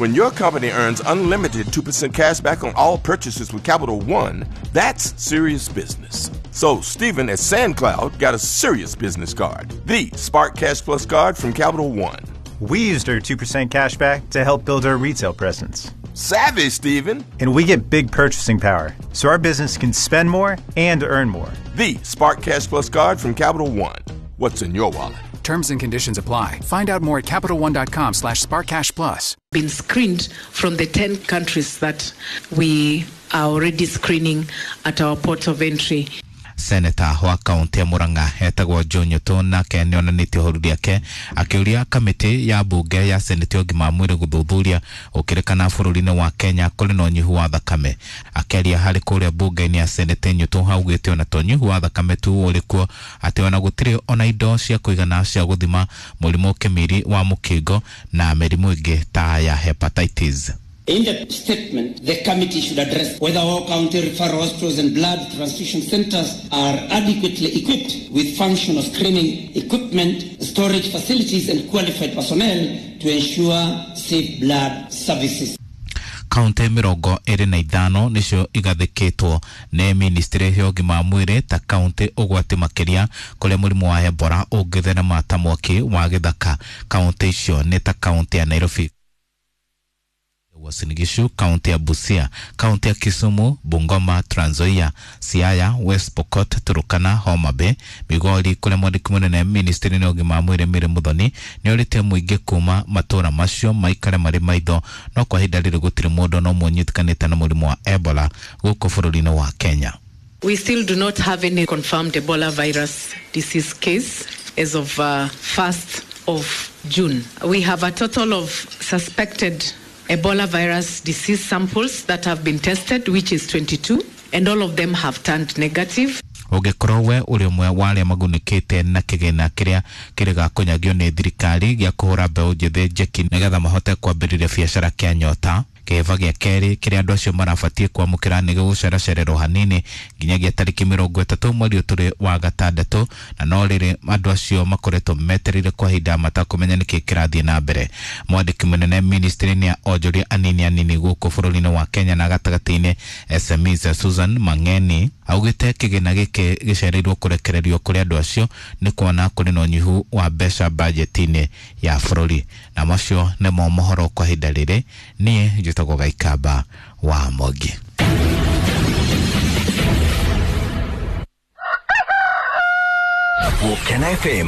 When your company earns unlimited 2% cash back on all purchases with Capital One, that's serious business. So Steven at SandCloud got a serious business card, the Spark Cash Plus card from Capital One. We used our 2% cash back to help build our retail presence. Savvy, Steven. And we get big purchasing power, so our business can spend more and earn more. The Spark Cash Plus card from Capital One. What's in your wallet? Terms and conditions apply. Find out more at CapitalOne.com/SparkCashPlus. Been screened from the 10 countries that we are already screening at our port of entry. Senator wa kaunti ya Murang'a etagwo Joe Nyutu nake nĩonanĩtie ũhoru rĩake akĩũria kamĩtĩ ya mbunge ya seneti ya ũgima wa mwĩrĩ gũthuthuria ũkĩrĩkana bũrũri-inĩ wa Kenya kũrĩ na ũnyihu wa thakame. Akĩaria harĩ kũrĩa mbunge-inĩ ya seneti, Nyutu augĩte ona to ũnyihu wa thakame tu ũrĩ kuo, atĩ ona gũtirĩ ona indo cia kũigana cia gũthima mũrimũ kĩmiri wa mũkingo na mĩrimũ ĩngĩ ta ya hepatitis. In the statement, the committee should address whether all county referral hospitals and blood transfusion centers are adequately equipped with functional screening equipment, storage facilities and qualified personnel to ensure safe blood services. Kaunti 25 nicio igathĩkĩtwo nĩ ministry ya ũgima wa mwĩrĩ ta kaunti ũgwati makĩria kũrĩa mũrimũ wa Ebola ũngĩtherema ta mwaki wa gĩthaka. Kaunti icio nĩ ta kaunti ya Nairobi, Uasin Gishu, kaunti ya Busia, kaunti ya Kisumu, Bungoma, Trans Nzoia, Siaya, West Pokot, Turkana, Homa Bay, Migori kũrĩa mwandĩki mũnene ministry-inĩ ya ũgima wa mwĩrĩ Mary Muthoni nĩorĩtie mũingĩ kuma matũra macio maikare marĩ maitho, no kwa ihinda rĩrĩ gũtirĩ mũndũ no ũmwe ũnyitĩkanĩte na mũrimũ wa Ebola gũkũ bũrũri-inĩ wa Kenya. We still do not have any confirmed Ebola virus disease case as of 1st of June. We have a total of suspected Ebola virus disease samples that have been tested, which is 22, and all of them have turned negative. Ũngĩkorwo we ũrĩ ũmwe wa arĩa magunĩkĩte na kĩgĩna kĩrĩa kĩrĩgakũnyagio nĩ thirikari gĩa kũhũra mbeũ njĩthĩ njeki nĩgetha mahote kwambĩrĩria biacara kĩa nyota, kĩhĩba gĩa kerĩ kĩrĩa andũ acio marabatiĩ kwamũkĩra nĩ gĩgũceracererwo hanini nginyagia tarĩki 30 mweri ũyũ tũrĩ wa gatandatũ, na no rĩrĩ andũ acio makoretwo metereire kwa ihinda matakũmenya nĩkĩ kĩrathiĩ na mbere. Mwandĩki mũnene ministry-inĩ ya onjoria anini anini gũkũ bũrũri-inĩ wa Kenya na gatagatĩ-inĩ SMEs Susan Mang'eni augĩte kĩgĩna gĩkĩ gĩcereirwo kũrekererio kũrĩ andũ acio nĩ kuona kũrĩ na ũnyihu wa mbeca bajeti-inĩ ya bũrũri. Na macio nĩmo mohoro kwa ihinda rĩrĩ. Niĩ njĩtagwo Gaikamba wa Mwangi. Gũkena FM.